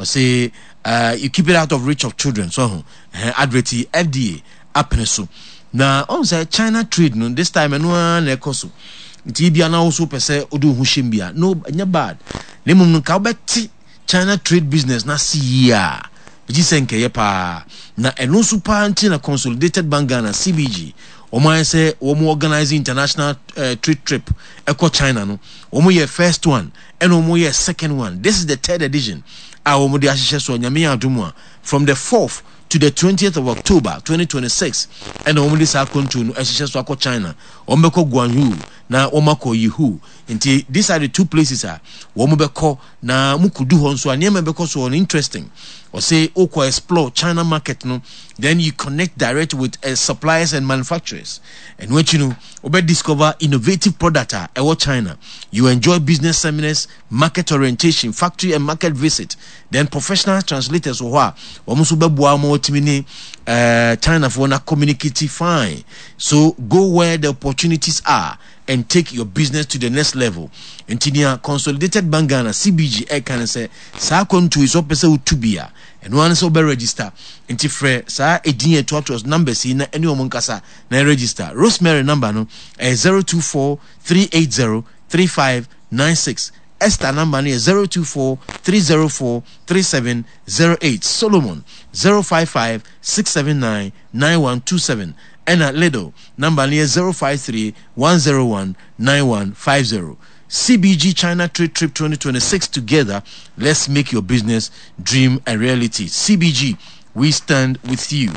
Ɔse you keep it out of reach of children so ho advert yi FDA apene so. Na ɔhu sɛ China trade no this time ɛno ara na ɛkɔ so. Nti ebia na wo so pɛ sɛ wode wo ho hyɛm bi a, no, ɛnyɛ bad. Na mmom no nka wobɛte China trade business no ase yie a, megye sɛ nka ɛyɛ paa. Na ɛno nso paa nti na Consolidated Bank Ghana, CBG, wɔn ayɛ sɛ wɔn organize international trade trip ɛkɔ China no. Wɔn yɛ first one, ɛna wɔn yɛ second one. This is the third edition a wɔn de ahyehyɛ so a Nyame yɛ adom a, from the 4th to the 20th of October 2026 ɛna wɔn de saa akwantuo no ɛhyehyɛ so akɔ China. Wɔn bɛkɔ Guangzhou na wɔn akɔ Yihu. Nti these are the two places a wɔn bɛkɔ na mo kɔdu hɔ nso a nneɛma bɛkɔ so no interesting. Ɔse wokɔ explore China market no, then you connect direct with suppliers and manufacturers. Ɛno akyi no wobɛ discover innovative product a ɛwɔ China. You enjoy business seminars, market orientation, factory and market visit. Then professional translators wɔ hɔ a wɔn nso bɛboa ma wɔatumi ne Chinafoɔ na communicate fine. So go where the opportunities are and take your business to the next level. Nti nea Consolidated Bank Ghana, CBG, ɛka ne sɛ saa akwantuo yi sɛ wopɛ sɛ wotu bi a, ɛno ara ne sɛ wobɛ register. Nti frɛ saa edin a ɛtoatoa so numbers yi na ɛne wɔn nkasa na register. Rosemary number no ɛyɛ 024 380 3596. Esther number no yɛ 024 304 3708. Solomon 055 679 9127. Ɛna Liddle number no yɛ 053 101 9150. CBG China Trade Trip 2026, together let's make your business dream a reality. CBG, we stand with you.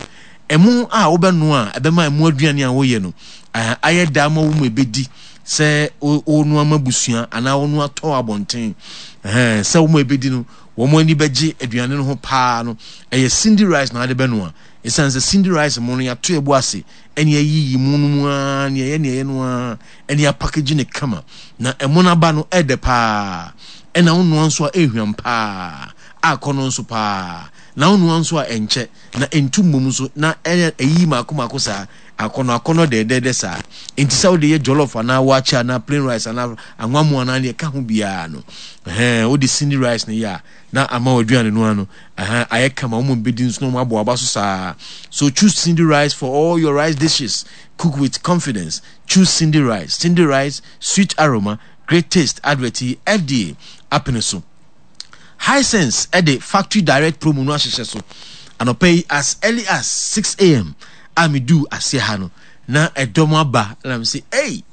Ɛmo a wobɛnoa a ɛbɛma ɛmo aduane a woyɛ no ayɛ da ama wo mu ɛbɛdi sɛ wonoa ma busua anaa wonoa tɔ abɔnten sɛ wo mu ɛbɛdi no wɔn ani bɛgye aduane no ho paa no, ɛyɛ Cindy rice na ade bɛnoa. Ɛsiane sɛ Cindy rice mo no yɛato ɛbo ase ɛne ayiyi mu no mu ara ne ɛyɛ ne ɛyɛ no ara ɛne apakagye ne kama na ɛmo no aba no ɛdɛ paa, ɛna wonoa nso a ɛhwam paa, akɔ no nso paa, na wonoa nso a ɛnkyɛ na ɛntu mmom nso na ɛyɛ ɛyiyi mako mako saa akɔnɔ akɔnɔ dɛdɛɛdɛ saa. Nti sɛ wode yɛ jollof anaa waakye anaa plain rice anaa anwamu anaa deɛ ɛka ho biara no, ɛhɛn, wode Cindy rice no yɛ a na ama w'aduane no ano ɛhɛn ayɛ kama, wɔn bɛdi nso na wɔn abɔ aba so saa. So choose Cindy rice for all your rice dishes. Cook with confidence. Choose Cindy rice. Cindy rice, sweet aroma, great taste. Advert yi FDA apene so. Hisense ɛde factory direct promo no ahyehyɛ so anɔpa yi as early as 6 a.m. a meduu aseɛ ha no na ɛdɔm aba na me sɛ, hey,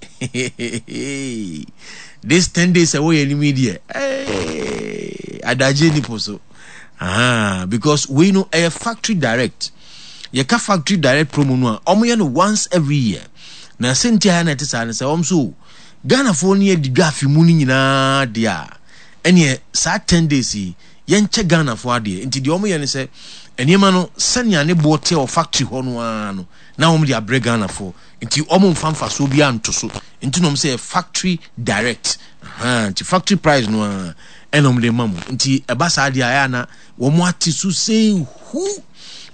this 10 days ɛwɔ yɛn anim yi deɛ, hey, adagye nipo so. Aha, because wei no ɛyɛ factory direct. Yɛka factory direct promo no a, wɔyɛ no once every year. Na sɛnti a na ɛte saa no sɛ wɔn so Ghanafoɔ no yɛ di dwa afe mu no nyinaa deɛ a, ɛneɛ saa 10 days yi yɛnkyɛ Ghanafoɔ adeɛ. Nti deɛ wɔyɛ no sɛ nneɛma no sɛnea ne boɔ teɛ wɔ factory hɔ no ara no na wɔn de abrɛ Ghanafoɔ. Nti wɔn mfa mfasoɔ biara nto so. Nti na wɔn sɛ factory direct. Nti factory price no ara ɛna wɔn de ma mo. Nti ɛba saa deɛ a, ɛyɛ ana wɔn ate so sɛ hu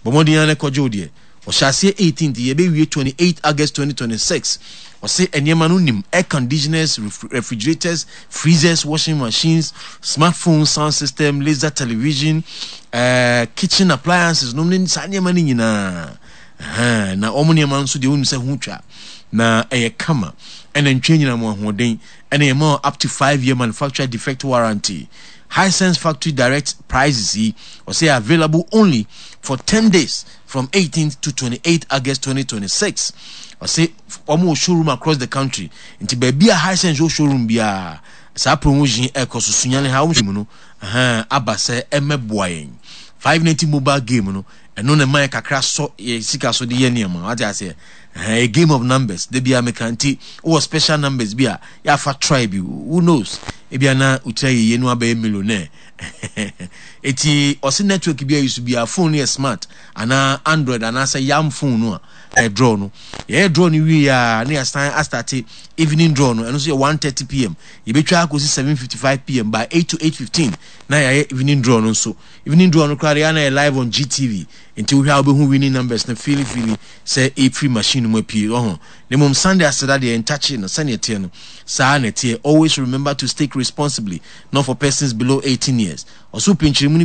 bɔ mmɔden ara na kɔgye wo deɛ. Ɔhyɛ aseɛ 18th, yɛbɛwie 28 August 2026. Ɔse nneɛma no nim air conditioners, refrigerators, freezers, washing machines, smartphone, sound system, laser television, kitchen appliances nom ne saa nneɛma no nyinaa. Na wɔn nneɛma nso deɛ wonim sɛ ho twa na ɛyɛ kama, ɛna ntwa nyina mu ahoɔden, ɛna yɛma up to 5 year manufacturer defect warranty. Hisense factory direct prices yi ɔsɛ available only for 10 days from 18th to 28th August 2026. Ɔsɛ wɔn wɔ showroom across the country, nti baabi a Hisense wɔ showroom biara saa promotion ɛkɔ so. Sunyani ha wɔn mu no aba sɛ ɛmɛboa yɛn 590 mobile game no, ɛno na ɛma yɛ kakra sɔ yɛ sika so de yɛ nneɛma wate aseɛ. A game of numbers de bia meka, nti wowɔ special numbers bi a yɛafa try bi, who knows, ebia na wotira yɛyie no abɛyɛ millionaire. Eti ɔse network bi a yi so bia, phone no yɛ smart anaa Android anaasɛ yam phone no a ɛyɛ draw no. Yɛyɛ draw no wie a na yɛasan astart evening draw no, ɛno nso yɛ 1:30 p.m., yɛbɛtwa akɔsi 7:55 p.m. By 8 to 8:15 na yɛayɛ evening draw no nso. Evening draw no koraa deɛ na yɛ live on GTV, nti wohwɛ a wobɛhu winning numbers no feely feely sɛ ɛfiri machine no mu apue ɔho. Na mmom Sunday aseda deɛ ntakye no sɛneɛ ɛteɛ no saa na ɛteɛ. Always remember to stake responsibly. Not for persons below 18 years. Ɔso pinkyiri mu no.